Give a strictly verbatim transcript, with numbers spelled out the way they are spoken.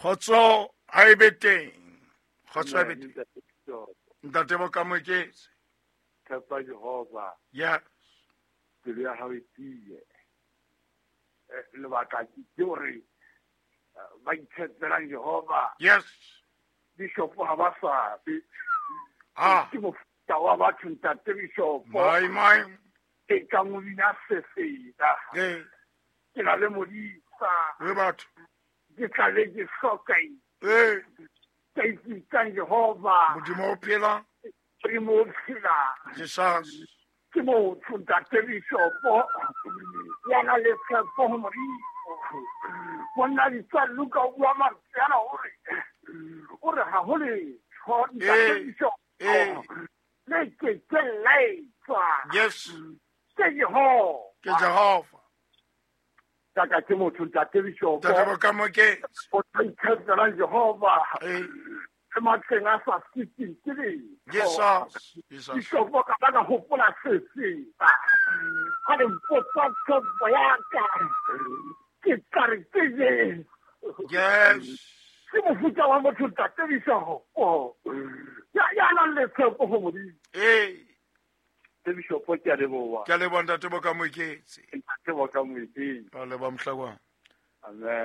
Kgotso ha e be teng. Kgotso ha e be teng. Ntate Bokamoeketsi. Tshepa Jehova. Yes. Pelo ya hao e tiye. Lebaka ke hore ba itshepelang Jehova. Yes. Bishop ha ba swabe. Ah. Ke mofuta wa batho ntate Bishop. My my. Ke ka mo bina sefela. Eh. Ke na le modisa. Re batho. Ke tla le ke hloka. Eh. Ke itsang Jehova. Modimo o phela. Modimo o phela. Jesus. Ke motho ntate Bishop. Ya na le tshepo ho Modimo. Monna ditsa Luka o bua mantswe ana hore o re ha ho letho ntate Bishop. Eh. Le ke ke laetswa. Yes. Ke Jehova. Ke Jehova. Taka ke motho ntate Bishop. Ntate Bokamoeketsi. O tla itshepela Jehova. Eh. Le matleng a sa siteng ke letho. Jesus. Jesus. Bishop ka ba ka hopola sefela. Ha le mpotsa tshepo ya ka. Ke tla re ke Jesu. Yes. Ke mofuta wa motho ntate Bishop. Ya ya nang le tshepo ho Modimo. Eh. Ntate Bishop ke a leboha. Ke a leboha ntate Bokamoeketsi. Ntate Bokamoeketsi. Ba leboha Mohlakwana. Amen.